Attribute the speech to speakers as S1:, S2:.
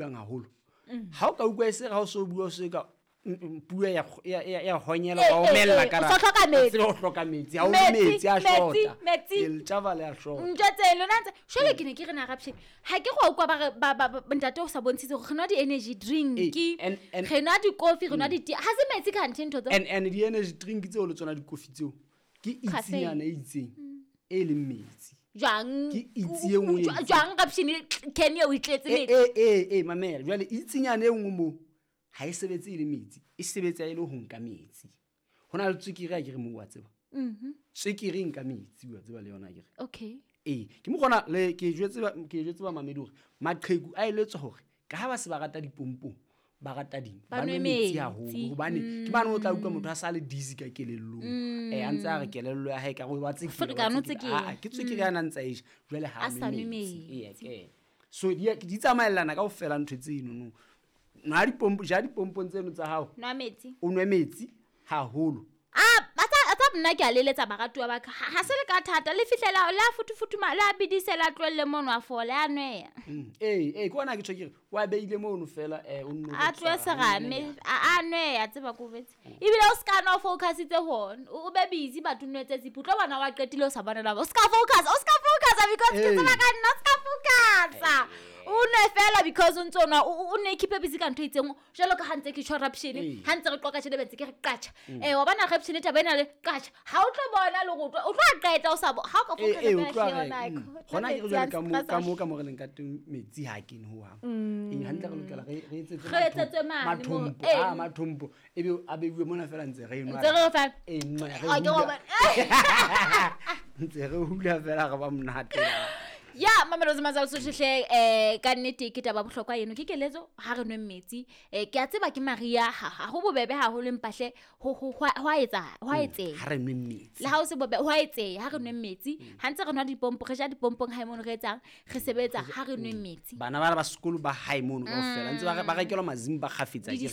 S1: Buang haholo. Ha o ka utlwa e se re ha o so bua o se ka puo ya honyela, wa omella ka
S2: o so hloka metsi.
S1: Tsebe o hloka metsi, ha o nwe
S2: Metsi,
S1: metsi a
S2: metsi,
S1: shota.
S2: Metsi.
S1: Ke letjaba le a shota.
S2: Ntho tse lona ntse jwale ke ne ke re na rapshe ha ke go utlwa ba re ba ntate o sa bontshitse gore re nwa di-energy drink, re nwa dikofi, re nwa di-tea, ha se metsi kganthe ntho tseo.
S1: And di-energy drink tseo le tsona dikofi tseo ke
S2: Caffeine.
S1: itsinyana e itseng e leng metsi.
S2: Jwang?
S1: Ke itse e nngwe e itseng.
S2: Jwang rapshene can eo e tletse metsi?
S1: Mamela jwale, itsinyana e nngwe moo ha e sebetse e le metsi, e sebetsa e le ho nka metsi. Ho na le tswekere a kere moo, wa tseba, tswekere e nka metsi, wa tseba le yona akere. Ee, ke mokgona le ke jwetse ba mamedi hore maqheku a eletswa hore ka ha ba se ba rata dipompong, ba rata ding,
S2: Ba
S1: ba
S2: nwe
S1: nwe metsi
S2: metsi.
S1: haholo, hobane ke mane o tla utlwa motho a sa le dizzy ka kelellong, a ntse a re kelello ya hae ka re wa tsekela, wa
S2: Ferekane, o
S1: tsekela.
S2: tsekela.
S1: Ah, ah, ke tswekere a na ntse a e ja jwale ha
S2: A
S1: a
S2: sa
S1: nwe
S2: nwe
S1: metsi.
S2: metsi.
S1: Ee, ke so di tsamaellana kaofela ntho tseno no. Nwa dipompo, ja dipompong tseno tsa hao.
S2: Nwa metsi.
S1: O nwe metsi haholo.
S2: A tsa nna ke a leletsa baratuwa ba ka, ha se le ka thata le fihlela la futufuthuma la bidise la tlohelle mono a fola a nweya.
S1: Ee, ke ona ke tjho ke re wa beile mono fela, o nno
S2: A
S1: o
S2: tlohe
S1: tshwara
S2: serame
S1: hanyenyane.
S2: a nweya tseba ko betse ebile o ska nwa o focusitse hona o be busy batho o nwetse zipho o tlo bona wa qetile o sa bona la o ska focus, o ska focus because ke tseba ka nna o ska focus o nwe fela because o ntso nwa o ne keep busy ka ntho e itseng jwalo ka ha ntse ke tjho rapshene, ha ntse re qoka tjhelete be ntse ke re qatjha, wa bona rapshene taba ena le qatjha ha o tlo bona le go o tlo a qeta o sa bo ha o ka focus
S1: O
S2: fela
S1: tlo a
S2: hle
S1: re,
S2: yona,
S1: Hona ke re
S2: metsi
S1: jwale
S2: a
S1: ka mo,
S2: stress
S1: ka mo, ka mo re leng ka teng metsi ha kene hohang. Ee, hantle re lokela re etsetse
S2: Re etsetswe mane mo,
S1: mathompo, ah, mathompo. Ebe a beuwe mona fela ntse re enwa.
S2: Ntse re fa.
S1: Ee, nwa, re
S2: Ah, ke
S1: hula.
S2: hobane.
S1: Ntse re hula fela re ba monate.
S2: Ya Mamelodi Mazal Sotho hle, ka nnete ke taba bohlokwa eno, ke keletso ha re nweng metsi, ke a tseba ke Maria ha ho bobebe haholo empa hle ho a etsa, ho a etseha.
S1: Ha re nweng metsi.
S2: Le ha o se bobe ho a etseha, ha re nweng metsi, ha ntse re nwa dipompo, re ja dipompong hae mono re etsang, re sebetsa, ha re nweng metsi.
S1: Bana bana ba sekolo ba hae mono kaofela ntse ba rekelwa mazimba kgafetsa
S2: Le
S1: akere.